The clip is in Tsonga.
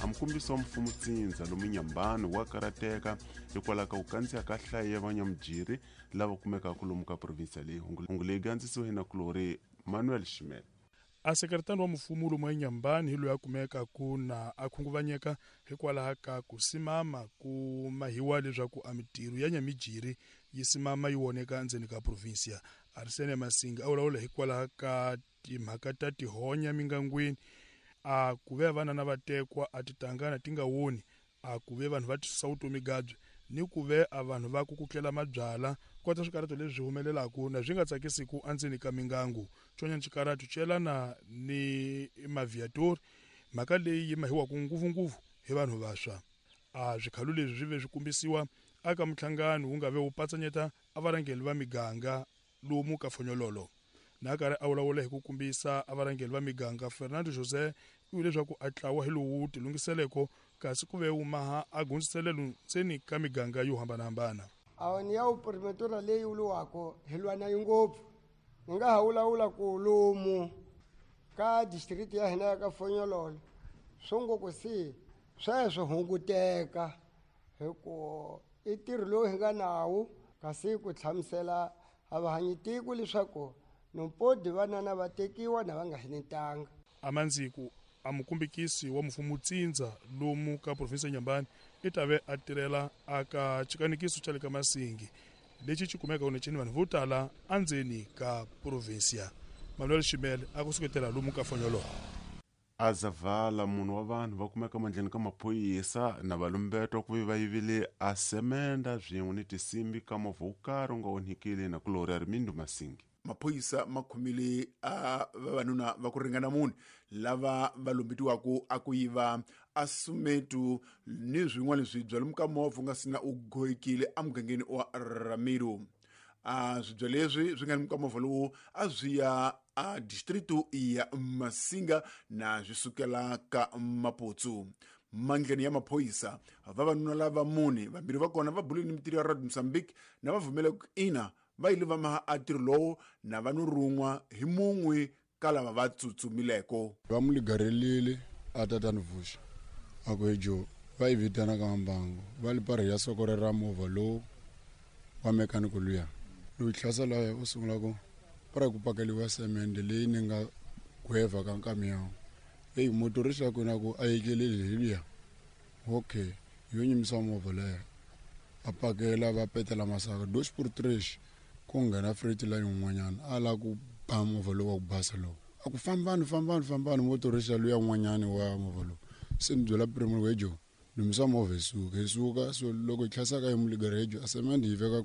A mukombisi wa mfumo tsindza lomu Nyambani wa karateka hikwalaho ka ku kandziya ka nhlayo ya vanyamujiri lava kumekaka lomu ka provinsiya leyi. Hungu leyi gandzisiwe hi nakulorhi Manuel Ximele. A sekretari wa mfumo lomu eNyambani hi loyi a kumekaku na a khunguvanyeka hikwalaho ka ku simama ku mahiwa leswaku a mitirho ya nyamijiri yi simama yi voneka endzeni ka provinsia. Arsene Masinga a vulavula hikwalaho ka timhaka ta tihonya mingangwini, a ku ve vana na vatekwa a titangana ti nga woni, a ku ve vanhu va tisusa vutomi gabye, ni ku ve a vanhu va kukutlela mabyala kota swikarato leswi humelelaku na swi nga tsakisiku endzeni ka mingangu. Xin'wanyana xikarato xi yelana ni maviatori, mhaka leyi yi mahiwaka ngopfungopfu hi vanhu vantshwa. A swikhalo leswi swi ve swi kombisiwa aka minhlangano wu nga ve wu patsanyeta a varhangeri va miganga lomu ka Fonyololo. Na karhi a vulavula hi ku kombisa a varhangeri va miganga, Fernando José u vule leswaku a tlawa hi lowu tilunghiseleko kasi ku ve wu maha a gundziselelo ndzeni ka miganga yo hambanahambana. A ni ya promotora leyi vuriwaka hi lwa na yi ngopfu. Ni nga ha vulavula ku lomu ka district ya hina ya ka Fonyololo swo ngopfu si sweswo hunguteka hi ku i ntirho lowu hi nga nawu, kasi ku hlamusela a va hanyi tiko leswaku nompodi vanana va tekiwa na va nga hinetanga. Amandziku a mukumbikisi wa mfumo tsindza lomu ka provinsi ya Nyambani i ta ve a tirhela aka xikanikiso xa le ka Masingi lexi xi kumeka kunecheni vanhu vo tala endzeni ka provinsia. Manuel Ximele a ku suketela lomu ka Fonyololo. Azavala munhu wa vanhu va kumeka mandleni ka maphorisa na valumbetwa ku ve va yivile a semenda swin'we ni tinsimbi ka movha wo karhi wu nga onhikile na kulori Armindo Masingi. Maphorisa ma khomile a vavanuna va ku ringana mune lava va lumbetiwaka a ku yiva a sumetu ni swin'wana swibya lomu ka movha nga sina u goyikile emugangeni wa Ramiro. A swibya leswi swi nga ni ka movha lowu a swi ya a distritu ya Masinga na swi sukela ka Maputsu. Mandleni ya maphorisa vavanuna lava mune, vambirhi va kona va bule ni mitirho ya Radio Mozambique na va vumela ku ina va yile va maha a ntirho lowu na va no run'wa hi mun'we ka lava va tsutsumileko. Va mu ligarelile a tatani vuxa a ku he jo va yi vitana ka mbangu va li parhi ya sokore ra movha lowu wa mekaniko luya loyi hlasela ya u sungula ku para ku pakeliwa semende leyi ni nga gweva ka nkamiyawu eyi motorisi ya kona ku a yekeleli hi luya okay yo nyimisa movha leya a pakela va petela masaka dos por tres ku nghena freight line un'wanyana a lava ku ba movha lowu wa ku basa lowu a ku fambani fambani fambani motorisi ya luya un'wanyana wa movha lowu se ni byela primo wejo lumisa movha hi suka hi suka. So loko hi tlhasaka hi muligarejo a semende yi veka.